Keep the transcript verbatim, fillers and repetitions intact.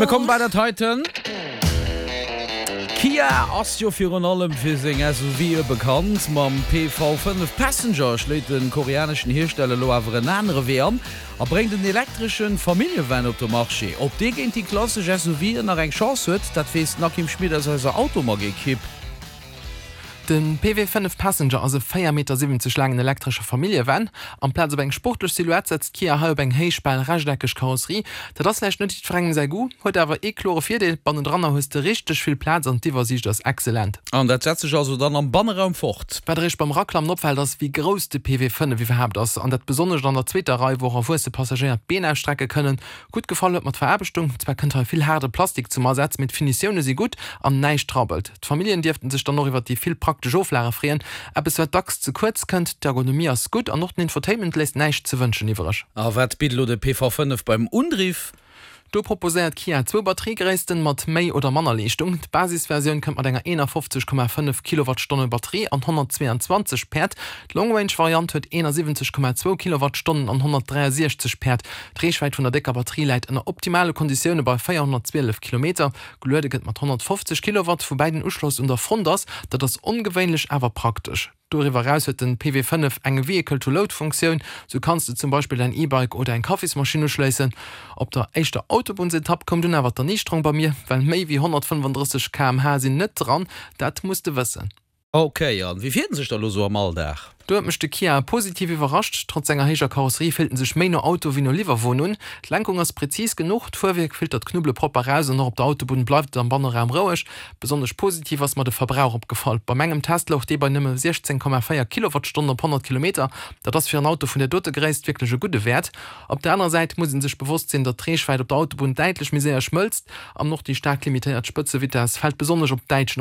Mir komme bei dat heiten. Kia ass jo virun allem fir seng S U Vë bekannt. Mam P V fënnef Passenger schléit de koreaneschen Hiersteller elo awer en anere Wee an a bréngt en elektresche Familljevan op de Marché. Ob dee géint déi klassesch S U Vën nach eng Chance huet, dat weess den Akim Schmit aus eiser Automag-Ekipp. De P V fënnef Passenger ass e véier Meter siwwenzeg laangen elektresche Familljevan. Amplaz op eng sportlech Silhouette setzt Kia hei op eng héich, bal rechteckeg Karosserie. Dat ass vläicht net jiddwerengem säi Goût, huet awer ee klore Virdeel, Bannendranner hues de richteg vill Plaz an d'Iwwersiicht ass excellent. An dat setzt sech also dann am Banneraum fort? Wat eréischt beim Eraklammen opfält, ass, wéi grouss de P V fënnef iwwerhaapt ass. An dat besonnesch an der zweeter Rei, wou och erwuesse Passagéier d'Been ausstrecke kënnen. Gutt gefall huet mer d'Veraarbechtung. Zwar kënnt hei vill haarde Plastik zum Asaz, mee d'Finitioune si gutt an näischt rabbelt. D'Familljen dierften sech dann och iwwer déi vill praktesch Oflage freeën, eppes wat dacks ze kuerz kënnt. D'Ergonomie ass gutt an och den Infotainment léisst näischt ze wënschen iwwereg. A wat bitt elo de P V fënnef beim Undriff? Do proposéiert Kia zwou Batteriegréissten mat méi oder manner Leeschtung. D'Basisversioun kënnt mat enger eenafofzeg Komma fënnef Kilowattstonne Batterie an honnertzweeanzwanzeg Päerd. D'Long-Range-Variant huet eenasiwwenzeg Komma zwou Kilowattstonnen an honnertdräiasechzeg Päerd. D'Reechwäit vun der décker Batterie läit ënner optimale Konditioune bei véierhonnertzwielef Kilometer. Geluede gëtt mat honnertfofzeg Kilowatt, woubäi den Uschloss un der Front ass. Dat ass ongewéinlech, awer praktesch. Doriwwer eraus huet den P V fënnef eng Vehicle-to-Load-Funktioun, sou kanns de zum Beispill däin E-Bike oder eng Kaffismaschinn uschléissen. Op der éischter Autobunnsetapp koum dunn awer d'Erniichterung bei mir, well méi wéi honnertfënnefandrësseg Kilometer pro Stonn sinn net dran, dat muss de wëssen. Ok, an wéi fiert en sech da lo sou am Alldag? Do huet mech de Kia positiv iwwerrascht. Trotz senger héijer Karosserie fillt en sech méi no Auto wéi no Liwwerwon un. D'Lenkung ass prezis genuch, d'Fuerwierk filtert d'Knubbele propper raus an och op der Autobunn bleift et am Banneraum roueg. Besonnesch positiv ass mer de Verbrauch opgefall. Bei mengem Test louch dee bei nëmme siechzéng Komma véier Kilowattstonnen op honnert Kilometer. Dat ass fir en Auto vun där dote Gréisst wierklech e gudde Wäert. Op der anerer Säit muss ee sech bewosst sinn, datt d'Reechwäit op der Autobunn däitlech méi séier schmëlzt an och déi staark limitéiert Spëtzevitess fält besonnesch op däitschen